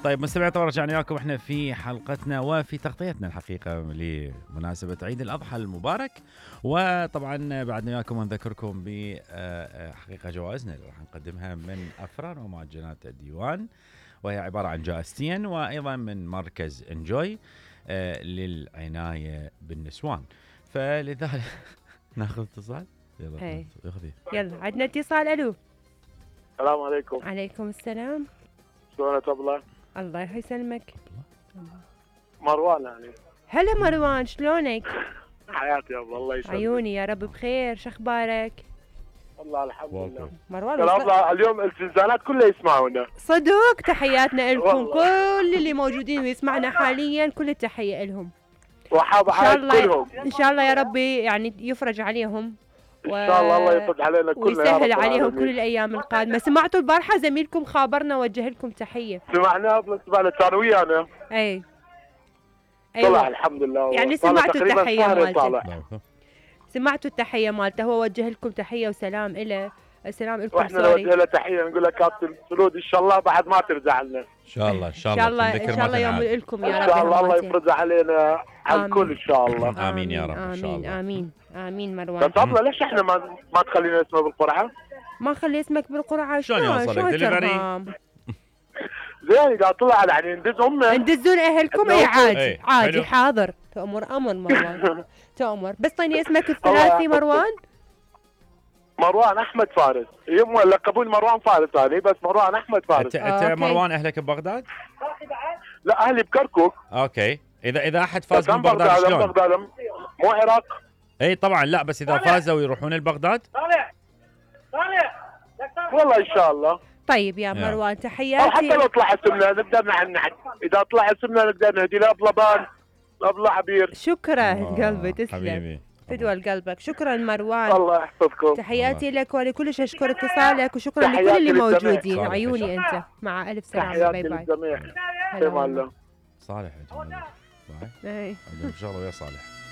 طيب مستمعين طبعا رجعنا لكم احنا في حلقتنا وفي تغطيتنا الحقيقه لمناسبه عيد الاضحى المبارك، وطبعا بعدنا وياكم نذكركم بحقيقه جوائزنا اللي راح نقدمها من افران ومعجنات الديوان، وهي عباره عن جائزتين وايضا من مركز انجوي للعنايه بالنسوان. فلذلك ناخذ اتصال. يلا يلا عندنا اتصال. الو السلام عليكم. عليكم السلام. شلونك طبلة؟ الله يسلمك. مروان يعني. هلا مروان، شلونك؟ حياتي يا ابو الله يسلمك. عيوني يا رب بخير، شخبارك؟ والله الحمد لله. مروان طبلة اليوم الزنزانات كلها يسمعونا. صدق، تحياتنا لكم كل اللي موجودين ويسمعنا حاليا، كل التحية لهم. وحاب احيي كلهم. ان شاء الله يا ربي يعني يفرج عليهم. ان شاء الله يفرج علينا كلنا ويسهل عليهم كل الايام القادمه. سمعتوا البارحه زميلكم خابرنا وجه لكم تحيه. سمعناه بالنسبه كان ويانا. اي طلع الحمد لله. يعني سمعتوا التحيه مالته. سمعتوا التحيه مالته، هو وجه لكم تحيه وسلام له. السلام لكم. واحنا نوجه له تحيه نقول له كابتن سرود ان شاء الله بعد ما ترجع لنا. ان شاء الله ان شاء الله ان شاء الله يوم لكم يا رب. ان شاء الله الله يفرج علينا على الكل ان شاء الله. امين يا رب ان شاء الله. امين امين مروان. بس الله ليش احنا ما تخلينا اسمه بالقرعه؟ ما نخلي اسمك بالقرعه؟ شلون يوصلك دليفري؟ زين اذا طلع يعني ندزون اهلكم. اي عادي عادي حاضر. تأمر امر مروان. تأمر بس طيني اسمك الثلاثي. مروان احمد فارس. يم لقبوني مروان فارس هذه، بس مروان احمد فارس. انت مروان اهلك ببغداد؟ لا اهلي بكركوك. اوكي. اذا احد فاز ببغداد شلون؟ مو عراق. اي طبعا. لا بس اذا فازوا يروحون لبغداد؟ والله ان شاء الله. طيب يا مروان تحياتي. حتى لو طلع اسمنا نقدر نحن اذا طلع اسمنا نقدر نهدي لابلبان لابلا عبير. شكرا قلبي، تسلم حبيبي. فدوى لقلبك. شكرا مروان. الله يحفظكم. تحياتي لك ولكلش اشكر اتصالك، وشكرا لكل اللي موجودين. عيوني انت مع الف سلامه. باي باي. للجميع. صالح يا جماعه. باي. ان شاء الله ويا صالح.